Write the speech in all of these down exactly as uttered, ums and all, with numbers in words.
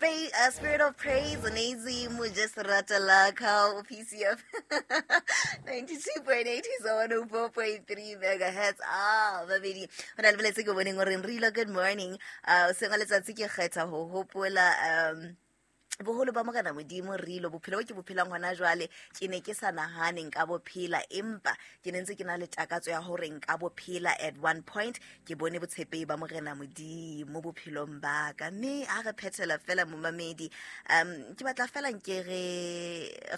Spa- uh, Spirit of Praise Nazi Mujesrata Laka P C F ninety-two point eight is one oh four point three megahertz. Ah, babedi. Hona le boletse ke boneng hore re good morning. Uh sengwe letsatsi ke kgetha ho hopola um boholo ba Morena Modimo re ilo bophelo bo ke bophelang hona jwale ke ne ke sa nahane nka bophela empa ke ne ntse ke na le takatso ya hore nka bophela at one point ke bone botshepehi ba Morena Modimo bophelong ba ka mme ha re phethela fela momamedi um ke batla fela nke re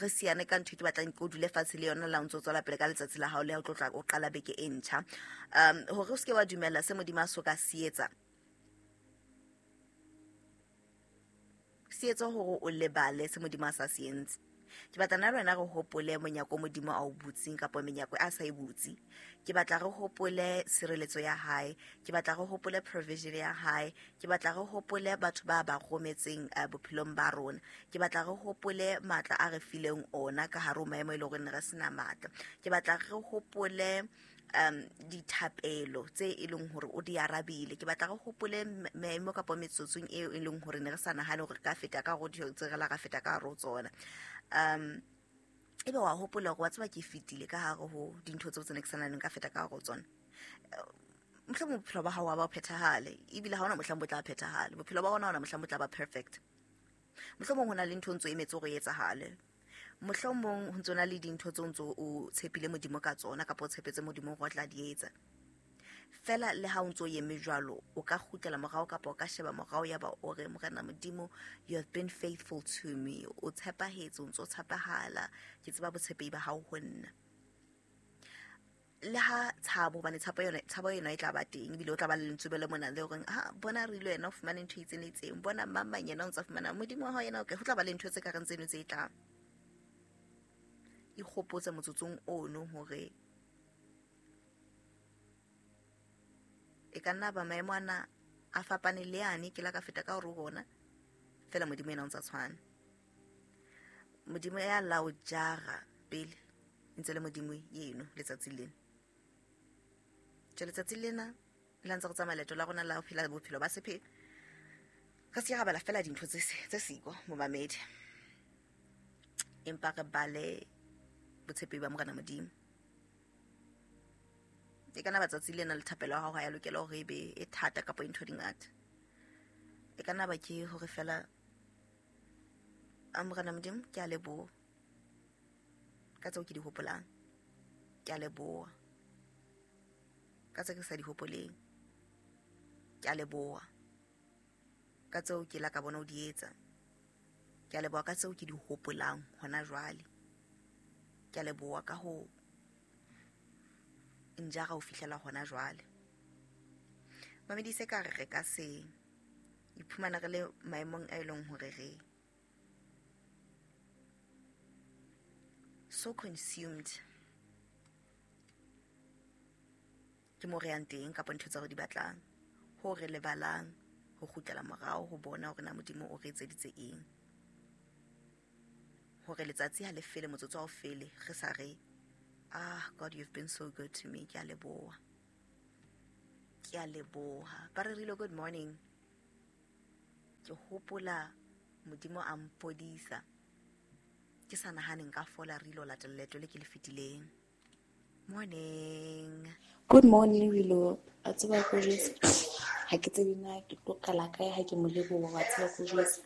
re siane ka ntho ke batlang ke o dule fatshe le yona la ntso tswela pele ka letsatsi la hao le ha o tlo tla o qala beke e ntjha um hore o seke wa dumella se Modimo a so ka se etsa se etsa hore o lebale se Modimo a sa se entse. Ke batla nna le wena re hopole monyako Modimo a o butseng kapa menyako a sa e butse. Ke batla re hopole sireletso ya hae, ke batla re hopole provision ya hae, ke batla re hopole batho ba ba rometseng bophelong ba rona. Ke batla re hopole matla a re fileng ona ka hare ho maemo e leng hore ne re sena matla. Ke batla re hopole um dithapelo tse e leng hore o di arabile. Ke batla re hopole maemo kapa metsotsong eo e leng hore ne re sa nahane hore re ka feta ka hare ho tse re la ka feta ka hare ho tsona. Um ebe wa hopola hore wa tseba ke fetile ka hare ho dintho tseo tse ne ke sa nahaneng ka feta ka hare ho tsona. Mohlomong bophelo ba hao ha ba phethahale ebile ha hona mohlang bo tla phethahale. Bophelo ba rona ha hona mohlang bo tla ba perfect. Mohlomong ho na le ntho ntso emetse hore e etsahale. Mohlomong ho ntso na le dintho tseo ntso o tshepile Modimo ka tsona kapa o tshepetse Modimo hore o tla di etsa. Fela le ha o ntso eme jwalo o ka kgutlela morao kapa o ka sheba morao ya ba o re Morena Modimo, you have been faithful to me. O tshepahetse, o ntso tshepahala. Ke tseba botshepehi ba hao ho nna. Le ha tshabo hobane tshapo yona tshabo yona e tla ba teng ebile o tla ba le lentswe le mona le horeng ha bona re ile yena o fumane ntho e itseng le itseng, bona mama yena o ntsa fumana Modimo wa hao yena okay, ho tla ba le ntho tse ka reng tseno tse tlang. Ikgopotse motsotsong ono hore e ka nna ba maemo ana a fapane le yane ke la ka feta ka hore ho ona fela Modimo yena o ntsa tshwana. Modimo ya la o jara pele ntse le Modimo yeno letsatsi lena. Tje letsatsi lena le ntse re tsamaya leeto la rona la ho phela bophelo ba sephele. Re se ra bala fela dintho tse tse siko momamedi. Empa re bale botshepehi ba Morena Modimo. E kana batsatsi lena le thapelo ya hao ha ya lokela hore e be e thata kapa ntho di ngata. E kana ba ke hore fela a Morena Modimo ke a leboha ka tseo ke di hopolang. Ke a leboha ka tseo ke sa di hopoleng. Ke a leboha ka tseo ke la ka bona o di etsa. Ke a leboha ka tseo ke di hopolang hona jwale. Ke a leboha ka ho njara ho fihlela hona jwale. Mamedi se ka re re ka se iphumana re le maemong a eleng hore re so consumed ke mo re yang teng kapa ntho tsa re di batlang ho re lebalang ho kgutlela morao ho bona hore na Modimo o re etseditse eng. Hore letsatsi ha le fele motsotso ha o fele re sa re ah God, you've been so good to me. Ke a leboha. Ke a leboha. Ba re rile good morning. Ke hopola Modimo a mpodisa. Ke sa nahane nka fola re ilo latela leeto le ke le fetileng. Morning. Good morning Rilo. A tseba ko jwetse. Ha ke tsebe na ke tlo qala kae ha ke mo leboha wa tseba ko jwetse.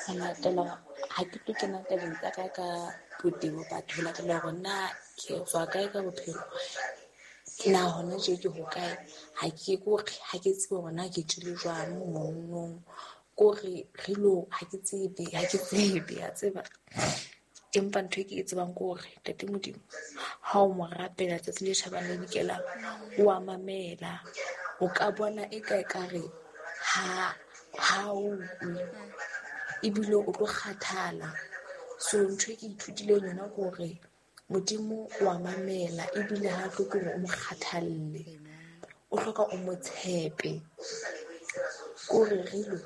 Ho latela ha ke tlo kena tabeng tsa ka ka botebo batho ho latela hore na ke tswa kae ka bophelo. Na hona tje ke hokae ha ke kore ha ke tsebe hore na ke tswile jwang mononong kore Rilo ha ke tsebe ha ke tsebe ya tseba. Empa ntho e ke e tsebang ke hore Ntate Modimo ha o mo rapela tsatsi le tjhabang le dikelang o a mamela. O ka bona e ka ekare ha ha o utlwe ebile o tlo kgathala. So ntho e ke ithutileng yona ke hore Modimo o a mamela ebile ha hloke hore o mo kgathalle. O hloka o mo tshepe. Kore Rilo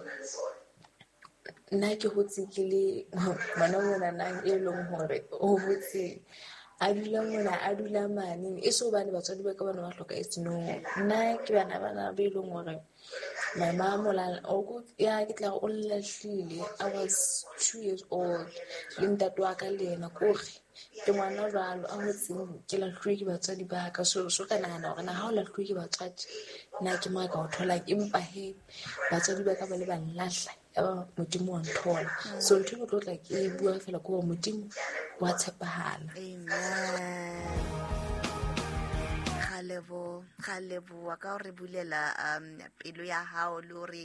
nna ke hotse ke le ngwana monanang e leng hore o hotse a dula mona a dula mane e so hobane batswadi ba ka bana ba hlokahetse no. Nna ke bana bana be leng hore My mom o la o ya ke tla o lahlile. I was two years old. Le ntate wa ka le yena kore ke ngwana jwalo a hotseng ke lahluwe ke batswadi ba ka. So so ka nahana hore na ha o lahluwe ke batswadi nna ke mo ka o tholang, empa he batswadi ba ka ba le ba nlahla ya ba Modimo wa nthola. So ntho e ke tlo tla ke e bua fela ke hore Modimo wa tshepahala. Amen. Ga lebo ga leboa ka hore bulela um pelo ya hao le hore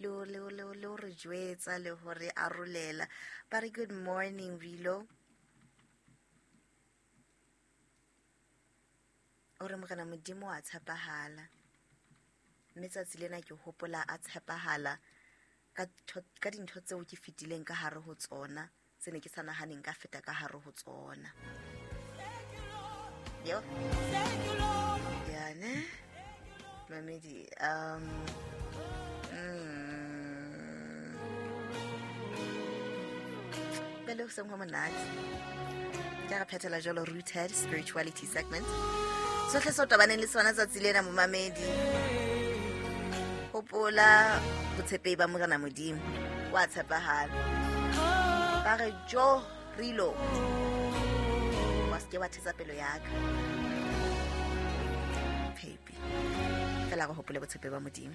le le le le hore jwetsa le hore arolela. Ba re good morning Rilo. O re morena Modimo wa tshepahala. Mme tsatsi lena ke hopola a tshepahala ka ka dintho tseo ke fetileng ka hare ho tsona tse ne ke sa nahaneng ka feta ka hare ho tsona. Yo. Ya ne. Mamedi um mm Pele ho seng ho monate. Ke re phethela jalo Rooted Spirituality segment. Sohle se o tobaneng le sona tsatsi lena momamedi. Hopola botshepehi ba Morena Modimo wa tshepahala. Ba re jo Rilo wa se ke wa thetsa pelo ya ka. Baby. Fela re hopole botshepehi ba Modimo.